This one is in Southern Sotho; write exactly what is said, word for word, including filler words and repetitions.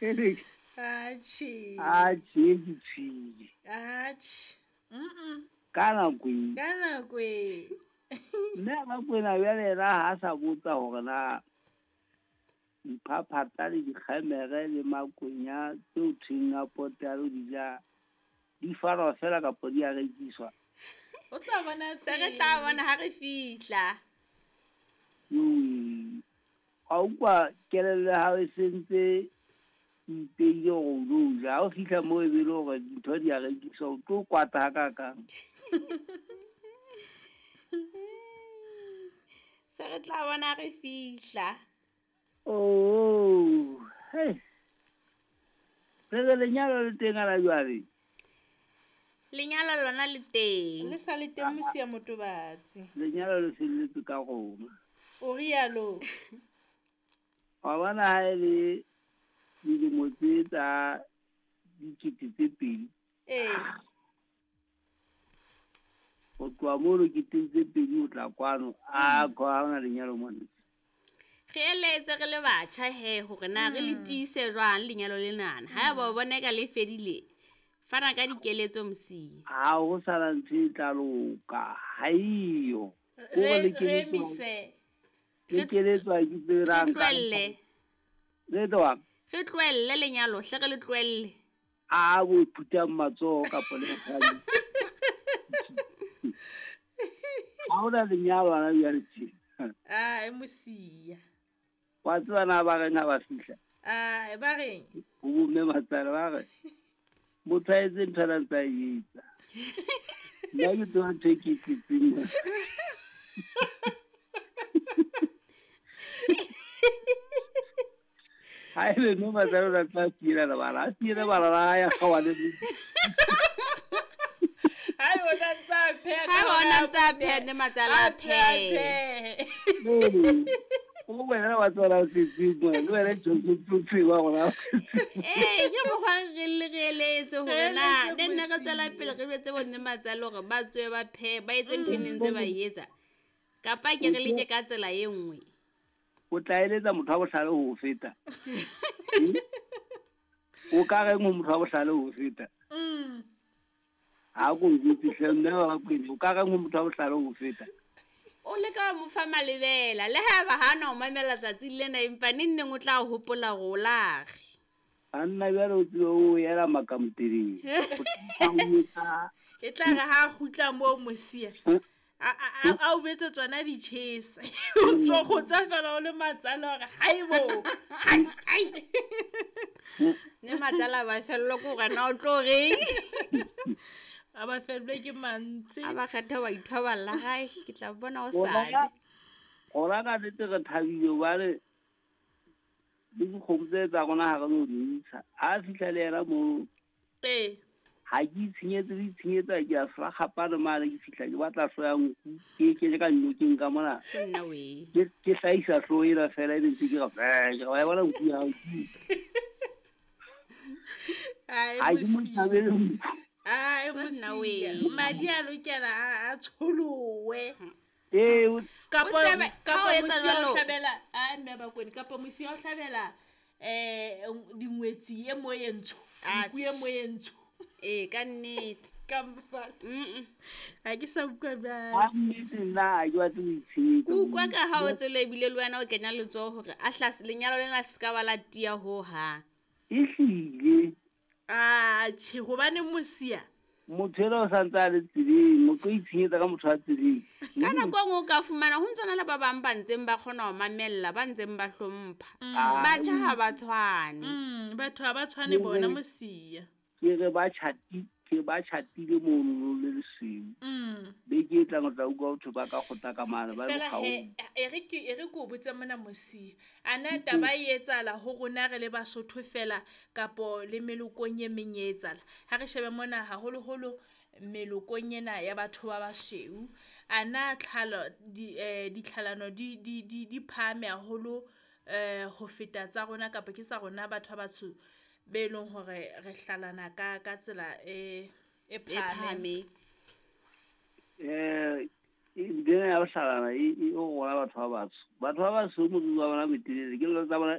Atjhe. Atjhe, ke tshwile. Atjhe. Mm-mm. Ka nako e. Ka nako e. Mme a Bakwena bjale yena ha a sa botsa hore na diphaphata le dikgemere le makwenya tseo thweng a pote a lo di ja di fanwa fela kapa di a rekiswa. O tla bona Se re tla bona ha re fihla. Yowe. A utlwa kelello ya hao e sentse ipeile hore o lo ja. Ha o fihla moo e be le hore dintho di a rekiswa, o tlo kwata hakakang. Se re tla bona re fihla. Oh, hey. Re re lenyalo le teng ana jwale? Lenyalo lona le teng. Le sa le teng Mosia Motobatsi. Lenyalo le felletse ka rona. O rialo. Wa bona ha e le dilemo tse tsa dikete tse pedi. Ee. Ho tloha mono keteng tse pedi ho tla kwano, a ha hona lenyalo mona. Re eletse re le batjha he hore na re le Mm. tiise jwang lenyalo lenana. Haeba o bona eka le fedile, fana ka dikeletso Mosia. Ha ho sana ntho e tla loka, ha eyo. Kore Re le re keletswa emise. le keletswa ke Re tsebe nka. tlohelle. Le tlohang? Re tlohelle lenyalo, hle re le tlohelle. A bo phutang matsoho kapa le mosadi. Ha hona lenyalo hana jwale tje. Ah, e Mosia. Wa tseba na ba reng ha ba fihla? Ah, ba reng? Ho bomme matsale ba re, motho a etse ntho a ntse a e etsa. Nna ke tseba ntho e ke e tletseng mona. Ha ebe mme matsale o na ntse a fiela lebala, a fiele lebala la hae a kgaohane le Ha ebe o na ntse a pheha ka Ha ebe o na hore a ntse a phehe. pheha, mme matsale a A phehe, a phehe. phehe. Ee. O wena wa tseba o tletseng mona, le wena Jojo o tseba hore ha o Ee, ke mokgwa re le re eletse hore Re na eletse ne nne re tswela Mosia. pele re jwetse bo mme matsale hore ba tswe ba phehe, ba etse ntho e neng ntse ba e etsa. Kapa ke re leke ka tsela e nngwe. O tla eletsa motho wa bohlale ho o feta. O ka reng ho motho wa bohlale ho o feta? Mm. Ha ko njwetse hle mme wa Bakwena, o ka reng ho motho wa bohlale ho o feta? O leka ho mo fa malebela, le haeba ha na o mamela tsatsing lena empa neng neng o tla hopola hore o lage. Banna jwale o tsebe o ela makamteleng. E tla re ha a kgutla moo Mosia, a a a a o betse tsona ditjhesa. O ntso kgotsa fela o le matsale hore haibo. Ai ai. Mme matsale a ba fellwa ke hore na o tlo reng. A ba fellwe ke mantswe. A ba kgethe wa ithoballa hae, ke tla bona Rona hosane. ka rona ka nnete re thabile hobane le dikgomo tse tsa rona ha re no di ntsha. Ha fihla le yena moo, Ee. ha ke itshenyetse le itshenyetsa ke a frakgapane mane ke fihla ke batla hlooho ya nku, ke e kenye ka nnokeng ka mona. Ke nna wee. Ke ke hlahisa hlooho ena fela ebe ntse ke re vee, ke re wa e bona nku ya hao ke. Ai, Ha ke mo Mosia. thabele nku. Ai, Ke nna Mosia. wee. Madi a lokela a a tsholowe. Ee, o Kapa O tsebe, ha kapa o etsa Mosia o jwalo. hlabela, ai mme Bakwena, kapa Mosia o hlabela eh dingwetsi e mo e ntsho. Nku e mo e ntsho. Ee, ka nnete. Ka mfa. Mm-mm. Ha ke sa utlwa jwale. Ha nnete nna ha ke batle ho itshenyetsa. Ke utlwa ka ha o tswela ebile le wena o kenya letsoho hore a hla lenyalo lena se ka ba la tiya hohang. Ehlile. Ah, tjhe, hobane Mosia. Motho enwa o santse a le tseleng, o tlo itshenyetsa ka motho a tseleng. Ka nako e nngwe o ka fumana ho ntso na le ba bang ba ntseng ba kgona ho mamella, ba ntseng ba hlompha. Ah, Batjha ha ba tshwane. Mm, batho ha ba tshwane bona Mosia. Ke re ba tjhati, ke ba tjhatile mono le lesweu. Mm. Beke e tlang o tla utlwa batho ba ka kgotha ka mane, ba le Fela he, bokgaong. e re ke, e re ke o botse mona Mosia. A na taba e etsahala ho rona re le Basotho fela kapo le melokong e meng e etsahala? Ha re shebe mona haholoholo melokong ena ya batho ba basweu. A na tlhalo, di, eh, ditlhalano di, di, di, di phahame haholo, eh, ho feta tsa rona kapa ke sa rona batho ba batsho be leng hore re hlalana ka, ka tsela e, e E phahameng. phahameng. Eh, ntho ena ya ho hlalana e, e ho rona batho ba batsho. Batho ba batsho moriri wa bona o motelele, kelello tsa bona